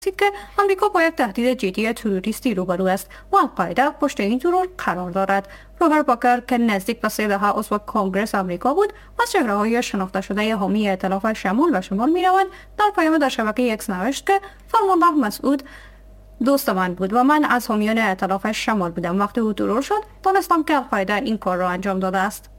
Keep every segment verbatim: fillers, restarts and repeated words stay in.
که آمریکا با یک تهدید جدی تروریستی روبرو است و القاعده پشت این ترور قرار دارد. روبرت باکر که نزدیک به سه دهه عضو کنگرس آمریکا بود و از چهره‌های شناخته شده حامی ائتلاف شمال و شمال می‌روند، در پیام در شبکه اکس نوشت که فرمانده مسعود دوست من بود و من از حامیان ائتلاف شمال بودم. وقتی او ترور شد دانستم که القاعده این کار را انجام داده است.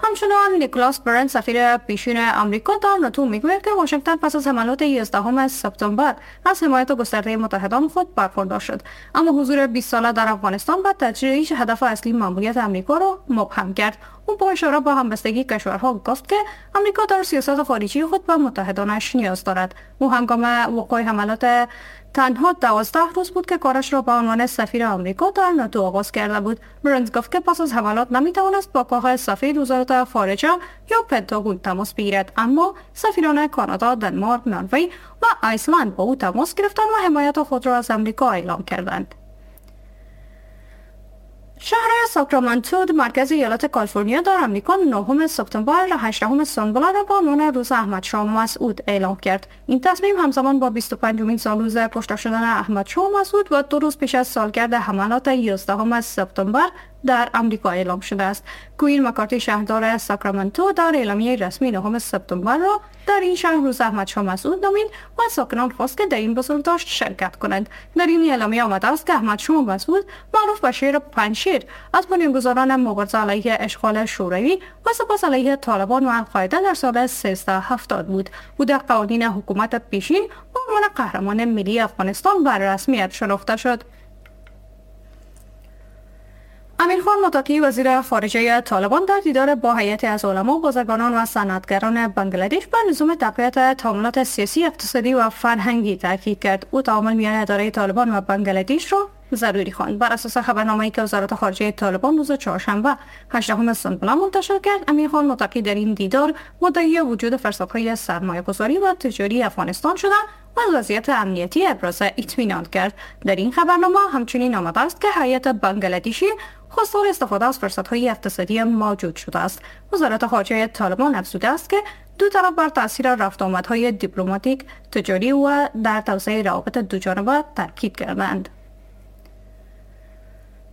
همچنان نیکلاس برنز سفیر پیشین آمریکا در ناتو میگوید که واشنگتن پس از حملات یازدهم سپتامبر از حمایت گسترده متحدان خود برخوردار شد، اما حضور بیست ساله در افغانستان و تجریش هدف اصلی ماموریت آمریکا را مبهم کرد. او با اشاره به همبستگی کشورها گفت که آمریکا در سیاست خارجی خود به متحدانش نیاز دارد. او هنگام وقوع حملات تنها دوازده روز بود که کارش را به عنوان سفیر آمریکا در ناتو آغاز کرده بود. برنز گفت که پس از حملات نمیتوانست با کاخ سفید، وزارت خارجه یا پنتاگون تماس بگیرد، اما سفیران کانادا، دنمارک، نروژ و ایسلند با او تماس گرفتند و حمایت خود را از آمریکا اعلام کردند. شهر ساکرامنتو مرکز ایالت کالیفرنیا در آمریکا نهم سپتامبر هجدهم سنبله را به عنوان روز احمد شاه مسعود اعلام کرد. این تصمیم همزمان با بیست و پنجمین سالروز کشته شدن احمد شاه مسعود و دو روز پیش از سالگرد حملات یازدهم سپتامبر در آمریکا اعلام شده است. کوین مکارتی شهردار ساکرامنتو در اعلامیه رسمی نهم سپتامبر را در این شهر روز احمد شاه مسعود نامید و ساکنان خواست که در این بزرگداشت شرکت کنند. در این اعلامیه آمده است که احمد شاه مسعود معروف به شیر پنجشیر از بنیانگذاران مبارزه علیه اشغال شوروی و سپس علیه طالبان و القاعده در سال سیزده هفتاد بود. او در قوانین حکومت پیشین به عنوان قهرمان ملی افغانستان به رسمیت شناخته شد. امیرخان متقی وزیر خارجه طالبان در دیدار با هیئت از علما، بازرگانان و صنعتگران بنگلادش بر لزوم تقویت تعاملات سیاسی، اقتصادی و فرهنگی تاکید کرد. او تعامل میان اداره طالبان و بنگلادش را ضروری خواند. بر اساس خبرنامه‌ای که وزارت خارجه طالبان روز چهارشنبه هجدهم سنبله منتشر کرد، امیرخان متقی در این دیدار مدعی وجود فرصت‌های سرمایه‌گذاری و تجاری افغانستان شده و از وضعیت امنیتی ابراز اطمینان کرد. در این خبرنامه همچنین آمده است که هیئت بنگلادشی خواستار استفاده از فرصت‌های اقتصادی موجود شده است. وزارت خارجه طالبان افزوده است که دو طرف بر تاثیر رفت آمدهای دیپلماتیک، تجاری و در توسعه روابط دو جانبه تاکید کردند.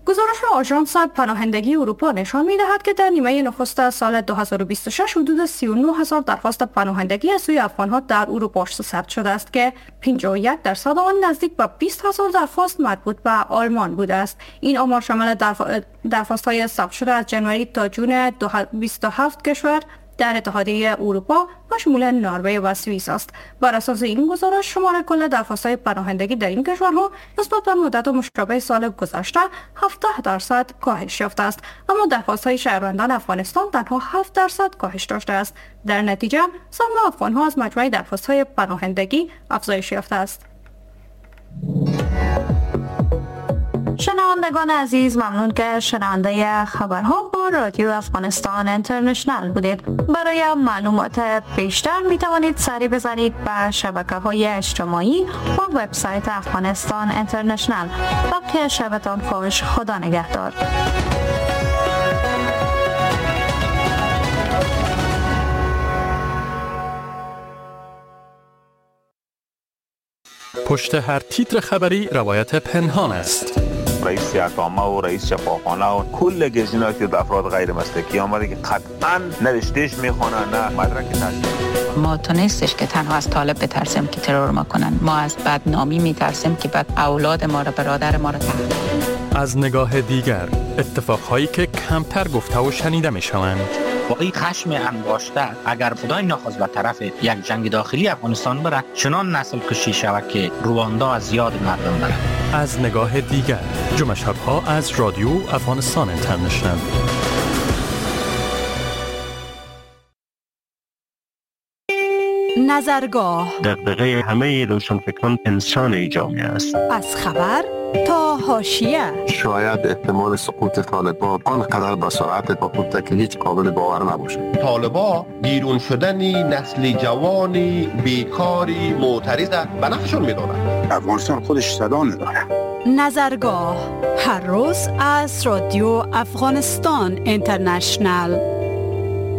گزارش آژانس پناهندگی اروپا نشان می‌دهد که در نیمه نخست سال دو هزار و بیست و شش حدود سی و نه هزار درخواست پناهندگی از سوی افغان‌ها در اروپا ثبت شده است که پنجاه و یک درصد آن نزدیک به بیست هزار درخواست مربوط به آلمان بوده است. این آمار شامل درخواست‌های ثبت شده از جنوری تا جون بیست و هفت کشور در اتحادیه اروپا و شمول نروژ و سوئیس است. بر اساس این گزارش شمار کل درخواست‌های پناهندگی در این کشورها نسبت به مدت مشابه سال گذشته هفده درصد کاهش یافته است، اما درخواست‌های شهروندان افغانستان تنها هفت درصد کاهش داشته است. در نتیجه سهم افغان‌ها از مجموع درخواست‌های پناهندگی افزایش یافته است. شنوندگان عزیز، ممنون که شنونده خبرها با رادیو افغانستان اینترنشنال بودید. برای معلومات بیشتر می توانید سری بزنید به شبکه های اجتماعی و وبسایت افغانستان اینترنشنال. باقی شبتان خوش، خدا نگهدار. پشت هر تیتر خبری روایت پنهان است. رئیس اقامه و رئیس شفاخانه و کل گزینه‌ای که افراد غیر مسلکی آمده که قطعاً نوشتهش میخوانن نه مدرک تحصیلی. ما تو نیستش که تنها از طالب بترسیم که ترور ما کنن، ما از بدنامی میترسیم که بعد اولاد ما را، برادر ما را تحقیر. از نگاه دیگر، اتفاقهایی که کمتر گفته و شنیده میشوند. واقعی خشم انباشته اگر خدای نخواست به طرف یک جنگ داخلی افغانستان بره، چنان نسل کشی شود که رواندا از یاد مردم بره. از نگاه دیگر، جمعه شب‌ها از رادیو افغانستان اینترنشنال. نظرگاه دغدغه همه روشنفکران انسان جامعه است. از خبر تا حاشیه. شاید احتمال سقوط طالبان آنقدر با سرعت با که هیچ قابل باور نباشد. طالبان بیرون شدنی نسل جوانی بیکاری معترض به نفعشون میدونن. افغانستان خودش صدا نداره. نظرگاه هر روز از رادیو افغانستان اینترنشنال.